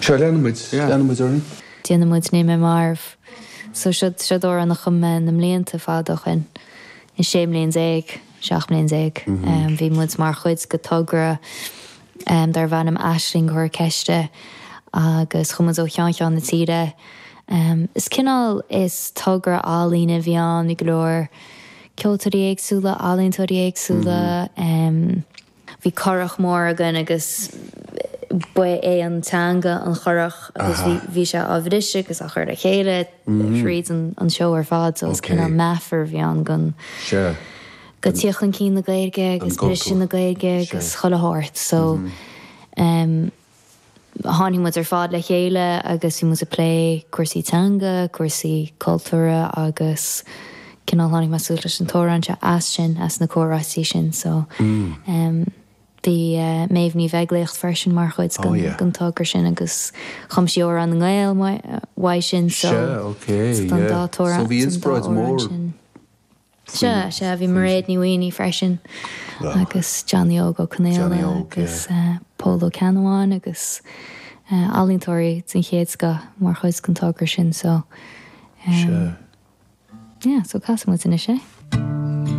Sea, leanfaidh muid, leanfaidh muid orainn. Déanfaidh muid Níl Mé Marbh. So seo, seo amhrán a chum mé na mblianta fada ó shin, 16 mbliain, 17 mbliain. Bhí muid mar chuid de togra darbh ainm Aisling Cuir Ceiste agus chuaigh muid ó cheann ceann na tíre. Is cineál, is togra ealaíne a bhí ann, bhí go leor ceoltóirí éagsúla, ealaíontóirí éagsúla. Bhí curach mór againn agus ba é an teanga an churach agus bhí bhí sé á bhriseadh agus á chur le chéile thríd an an seó ar fad so is cineál meafar a bhí ann don go tíocht chun cinn na Gaeilge agus briseadh na Gaeilge agus chuile shórt so Tháinig muid ar fad le chéile agus bhí muid ag plé cúrsaí teanga, cúrsaí cultúrtha agus cineál tháinig mé suas leis an t-amhrán seo as sin, as na comhráití sin so bhí Méabh Ní Bheaglaoich freisin mar chuid den togra sin agus chum sí Amhrán na nGael uaidh sin so so an dá t-amhrán sin. Sea, sea, bhí Mairéad Ní Mhaonaigh freisin agus Johnny Óg Ó Conaola agus Pól Ó Ceannabháin agus ealaíontóirí den chéad scoth mar chuid den togra sin so yeah, so casfaidh muid anois é.